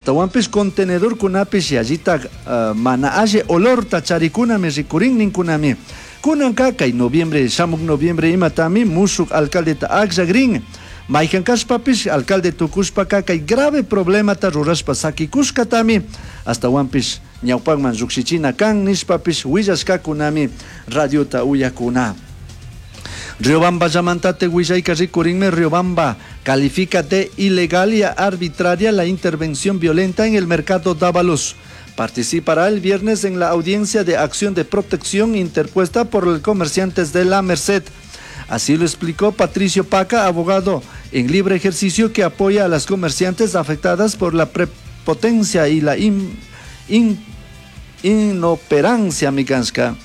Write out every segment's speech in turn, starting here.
Ashtahuanpish contenedorcunapish yallitaj mana alli olorta charicunami ricurin nincunami. Cunanca cai noviembre, shamuj noviembre imatami mushuj alcaldeta agllagrin. Maijan cashpapish alcalde tucushpaca cai grave problemata rurashpa saquicushcatami ashtahuanpish ñaupajman llujshichina can nishpapish huillashcacunami radiota uyajcuna. Riobamballamanta huillaica ricurinmi. Riobamba califica de ilegal y arbitraria la intervención violenta en el mercado Dávalos. Participará el viernes en la audiencia de acción de protección interpuesta por los comerciantes de La Merced. Así lo explicó Patricio Paca, abogado en libre ejercicio que apoya a las comerciantes afectadas por la prepotencia y la inoperancia mikanska.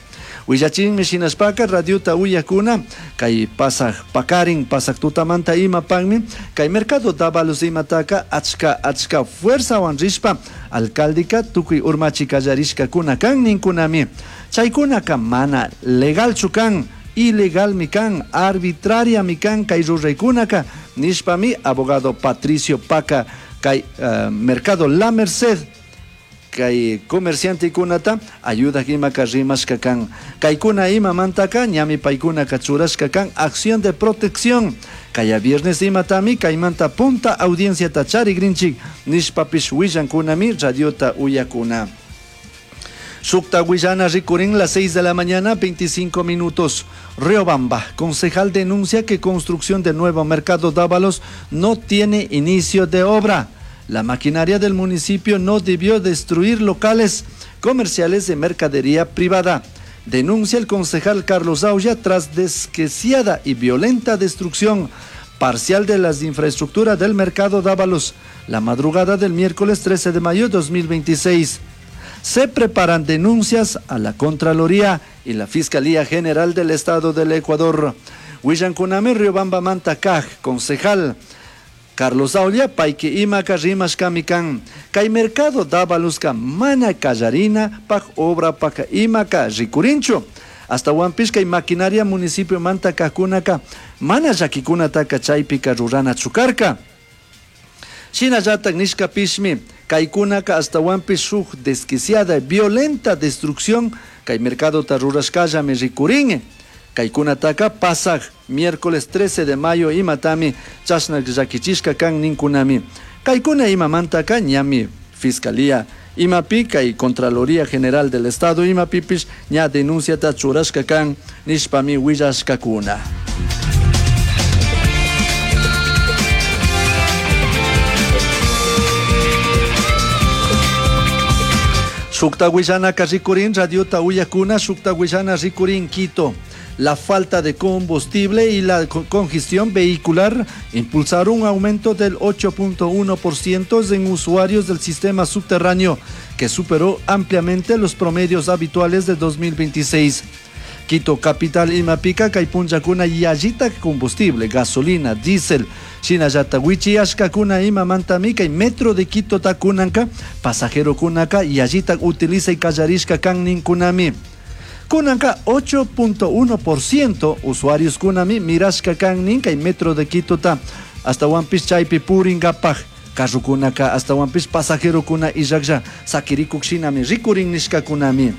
Willachinmi shinashpaka radiota uyakuna kay pasaj pakarin pasaj tutamanta imapakmi kay mercado Dávalos imataka achka achka fuerzawan rishpa alcaldeka tukuy urmachi kallarishkakuna kan ninkunami. Chaykunaka mana legalchu kan, ilegalmi kan, arbitrariami kan kay ruraykunaka nishpami abogado Patricio Paca kay mercado La Merced kay comerciantekunata ayuda imaka rimashka kan. Kaykuna imamantaka ñami paykunaka churashka kan acción de protección. Kaya viernes imatami kaymanta punta audienciata charigrinchik nishpapish willankunami radiota uyakuna. Shukta willana rikurin las 6 de la mañana, 25 minutos. Riobamba, concejal denuncia que construcción del nuevo mercado Dávalos no tiene inicio de obra. La maquinaria del municipio no debió destruir locales comerciales de mercadería privada. Denuncia el concejal Carlos Aulla tras desquiciada y violenta destrucción parcial de las infraestructuras del mercado Dávalos la madrugada del miércoles 13 de mayo de 2026. Se preparan denuncias a la Contraloría y la Fiscalía General del Estado del Ecuador. Willankunami Riobamba manta kaj, concejal Carlos Aulla, payki imaka rimashkami kan. Kay mercado Dávalosca mana kallarina pak obra pak imaka rikurinchu. Ashtahuanpish kay maquinaria municipio manta kajkunaka mana llakikunataka chaypika ruranachu karka. Shinallatak nishkapishmi kaykunaka ashtahuanpish shuk desquiciada violenta destrucción kay mercadota rurashkallami rikurin. Kaykunataka pasaj miércoles 13 de mayo imatami chashna llakichishka kan ninkunami. Kaykuna imamantaka ñami Fiscalía imapi kay Contraloría General del Estado imapipish ña denunciata churashka kan nishpami willashkakuna. Shukta willanaka rikurin radiota uyakuna, shukta willana rikurin Quito. La falta de combustible y la congestión vehicular impulsaron un aumento del 8.1% en usuarios del sistema subterráneo, que superó ampliamente los promedios habituales de 2026. Quito capital imapica kay punllakuna yallita combustible, gasolina, diésel, shinallata wichiyashkakuna imamantami kay metro de Quito takunanka, pasajero kunaka yallita utiliza y kallarishka kan ninkunami. Kunanka 8.1% usuarios kunami mirashka kan nin kay metro de Quito ta ashtahuanpish chaypi puringapaj carrokunaka ashtahuanpish pasajerokuna illaklla sakirikuk shinami rikurin nishkakunami.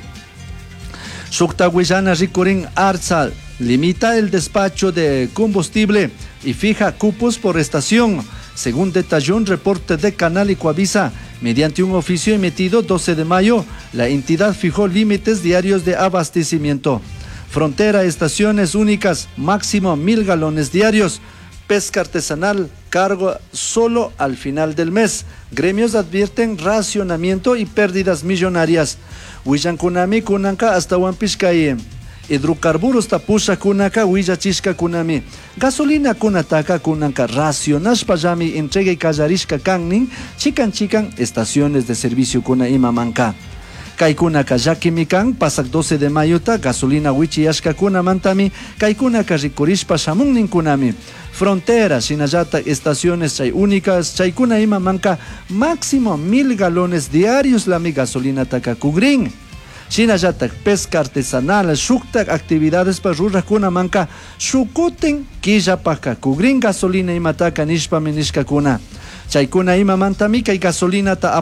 Shukta willana rikurin Artza limita el despacho de combustible y fija cupos por estación, según detalló un reporte de Canal Ecuavisa. Mediante un oficio emitido 12 de mayo, la entidad fijó límites diarios de abastecimiento. Frontera, estaciones únicas, máximo 1.000 galones diarios. Pesca artesanal, cargo solo al final del mes. Gremios advierten racionamiento y pérdidas millonarias. Willankunami kunanka ashtahuanpish kay hidrocarburos tapusha kunaka willachishka kunami. Gasolina kunataka kunanka racionashpa llami entrega kallarishka kannin chikan chikan estaciones de servicio kuna imamanka. Kaykunaka llakimi kan pasak 12 de mayota gasolina wichiyashka kunamantami kaykunaka rikurishpa shamun ninkunami. Frontera, shinallata estaciones chay únicas, chaykuna imamanka máximo 1.000 galones diarios lami gasolina taka kugrin. Shinallata pesca artesanal, shuktak actividades pa rurakunamanka shukutin killapaka kugrin gasolina imataka nishpami nishkakuna. Chaykuna imamantami kay gasolinata.